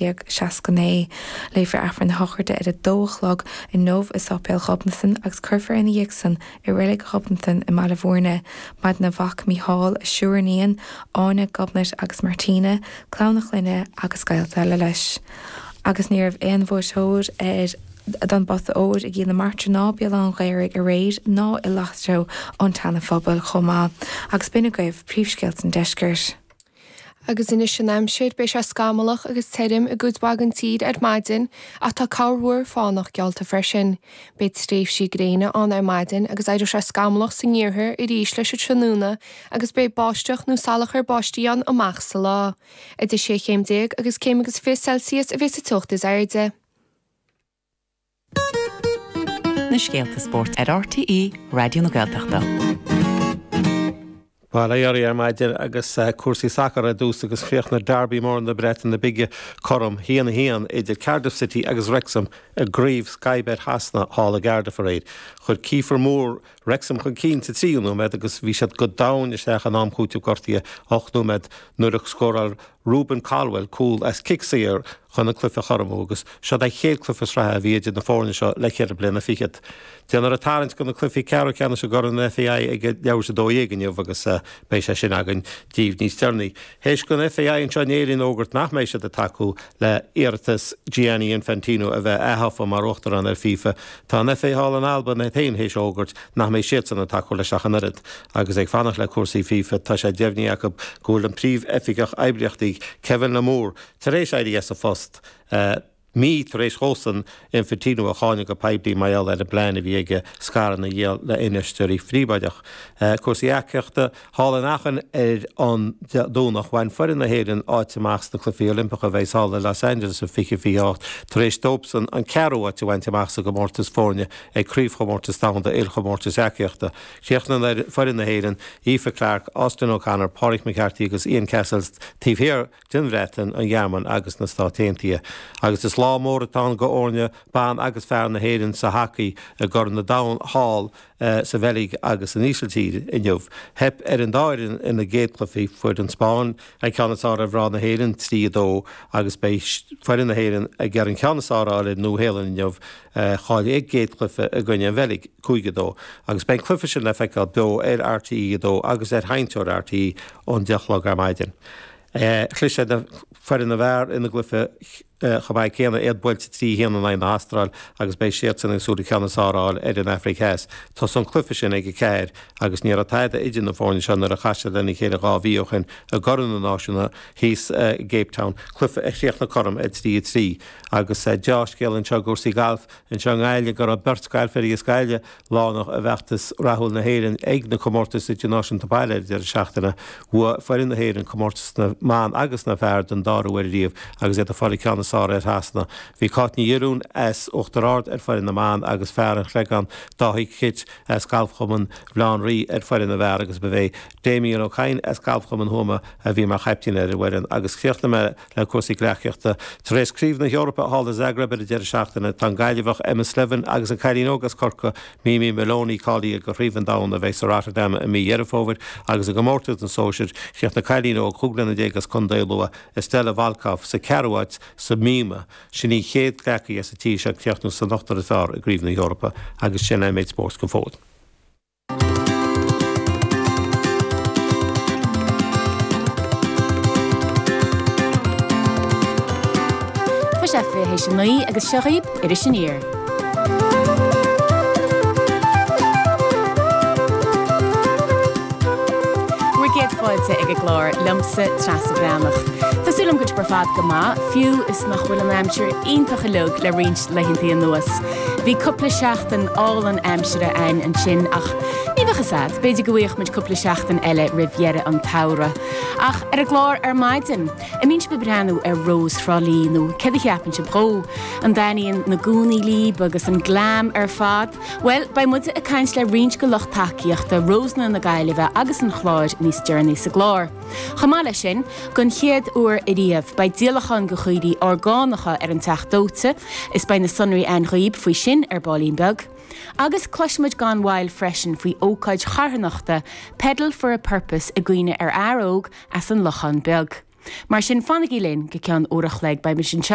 1969. Léifear Aifreann na sochraide ar a dó a chlog inniu i Sáipéal Ghobnatan agus cuirfear ina dhiaidh san i Reilig Ghobnatan i mBaile Bhúirne. Maireann a mhac Mícheál, a sheisear iníon, Áine, Gobnait agus Martina, clann a chlainne agus gaolta eile leis. Agus ní raibh aon bhuaiteoir ar don bPota Óir i gCill na Martra ná Béal Átha an Ghaorthaidh aréir ná i Lotto an tSeana-Phobail chomh maith. Agus b'in agaibh príomhscéalta an deiscirt. Agus anois an aimsir, beidh sé scamallach agus tirim i gcuid mhaith den tír ar maidin ach tá corrmhúr fánach geallta freisin. Beidh tréimhsí gréine ann ar maidin agus éireoidh sé scamallach san iarthar arís leis an tráthnóna agus beidh báisteach nó salachar báistí ann amach sa lá. Idir 16 chéim agus céim agus 20 Celsius a bheas an teocht is airde. Na scéalta spóirt ar RTÉ Raidió na Gaeltachta. Bail ó Dhia oraibh ar maidin agus cúrsaí sacair ar dtús agus chríochnaigh Derby mór na Breataine Bige cothrom, 1-1 idir Cardiff City agus Wrexham i gCraobh Sky Bet Shasana thall i gCardiff aréir. Chuir Kieffer Moore Wrexham chun cinn sa tríú nóiméad agus bhí siad go domhain isteach in am chúitimh gortaithe 8 nóiméad nuair a scóráil Rubin Colwill cúl as cic saor chun an cluiche a chothromú agus seod é an chéad cluiche sraithe a bhí idir na foirne seo le ceithre bliana fichead. Déanfar an tarraingt do na cluichí ceathrú ceannais i gCorn an FAI ag leathuair tar éis 12 inniu agus beidh sé sin againn díbh níos deireanaí. Théis don FAI anseo in Éirinn fhógairt nach mbeidh siad ag tacú le hiarratas Gianni Infantino a bheith aththofa mar Uachtarán ar FIFA, tá an FA thall in Albain iad féin théis fhógairt nach mbeidh siadsan ag tacú leis ach an oiread. Agus ag fanacht le cúrsaí FIFA, tá sé deimhnithe acu go bhfuil an Príomh-Oifigeach Oibríochtaí, Kevin Lamour, tar éis éirí as a phost, mí tar éis dhósan Infantino a cháineadh go poiblí mar gheall ar an bplean a bhí aige scaireanna a dhíol le infheisteoirí phríobháideach. Cúrsaí eacaíochta, thall in Aachen ar an Domhnach, bhain foireann na hÉireann áit amach sna Cluichí Oilimpeacha a bheidh thall i Los Angeles i 2028 tar éis dóibhsan an ceathrú áit a bhaint amach sa gcomórtas foirne ag Craobhchomórtas Domhanda Ilchomórtais Eacaíochta. Chríochnaigh foireann na hÉireann, Aoife Clarke, Austin O'Connor, Pádraig McCarthy agus Ian Cassells, taobh thiar den Bhreatain, an Ghearmáin agus na Stáit Aontaithe. Agus is lá mór atá ann do fhoirne ban agus fear na hÉireann sa hacaí i gCorn an Domhain thall sa Bheilg agus san Ísiltír inniu. Theip ar an dá fhoireann ina gcéad chluichí, fuair an Spáinn an ceann is fearr ar mhná na hÉireann, 3, 2, agus beidh foireann na hÉireann ag iarraidh an ceann is fearr a fháil ar an Nua-Shéalainn inniu, Chaill a gcéad chluiche i gcoinne an Bheilg, 5, 2, agus beidh an cluiche sin le feiceáil beo ar RTÉ 2 agus ar sheinnteoir RTÉ ón 10 a chlog ar maidin. Chlis ar foireann na bhfear ina gcluiche chomh maith céanna, iad buailte 3, 1 in aghaidh na hAstráil agus beidh siadsan ag súil an ceann is fearr a fháil ar an Afraic Theas. Tosóidh an cluiche sin ag 4 agus ní raibh tada idir na foirne seo nuair a chas siad lena chéile 2 mhí ó shin i gCorn na Náisiún thíos i gCape Town, cluiche a chríochnaigh cothrom ar 3, 3. Agus deá-scéal anseo i gcúrsaí gailf anseo i nGaillimh go raibh beirt gailfeoirí as Gaillimh lárnach i bhfeachtas rathúil na hÉireann ag na comórtais idirnáisiúnta baile ar an deireadh seachtaine. Bhuaigh foireann na hÉireann comórtas na mban agus na bhfear den dara huair ariamh agus iad ag fáil an ceann is fearr ar Shasana. Bhí Cáit Ní Fhirún as Uachtar Ard ar foireann na mban agus fear an Chreagáin Dáithí Kitt as Galfchumann Bhaile Átha an Rí ar foireann na bhfear agus ba é Damien Ó Cadhain as Galfchumann Thuama a bhí mar chaiptín ar an bhfoireann agus chríochnaigh mé Le cúrsaí gleacaíochta, tar éis Craobh na hEorpa thall i Zagreb ar an deireadh seachtaine, tá an Gaillimheach Emma Slevin agus an cailín óg as Corcaigh, Mimi Maloney cáilithe do Chraobh an Domhain a bheidh sa Rotterdam i mí Dheireadh Fómhair agus i gcomórtas na sóisear, chríochnaigh cailín óg 15 bliana as Contae Lú, Estella Volkov, sa ceathrú háit sa mhíoma. Sin í an chéad ghleacaí as an tír seo ag críochnú san ochtar is fearr i gCraobh na hEorpa agus sin é an méid spóirt go fóill. Tá sé 8:40 agus seo dhaoib Iris Aniar. Bhur gcéad fáilte ag an gclár liomsa, Treasa Bhreathnach. Tá súil agam go bhfuil sibh ar fad go maith, fiú is nach bhfuil an aimsir iontach uilig le roinnt laethanta anuas. Bhí cúpla seachtain álainn aimsire a'ainn ansin ach ní bheadh fhios a'd, b'fhéidir go bhfaigheadh muid cúpla seachtain eile roimh dheireadh an tsamhraidh. Ach ar an gclár ar maidin, an mbíonn sibh ag breathnú ar Rós Thrá Lí nó céard a cheapann sibh dhó? An dtaitníonn na gúnaí líb agus an glam ar fad? Bhuel, beidh muide ag caint le roinnt de lucht tacaíochta Rósanna na Gaillimhe agus an Chláir níos deireanaí sa gclár. Chomh maith leis sin, don chéad uair ariamh, beidh díolachán de chaoirigh orgánacha ar an Teach Dóite, is beidh na sonraí a'ainn dhaoib faoi sin ar baillín beag. Agus cloisfimid gan mhoill freisin faoi ócáid charthanachta Pedal for a Purpose i gcuimhne ar fhear óg as an Lochán Beag. Mar sin, fanaigí linn go ceann uair a chloig, beimid anseo.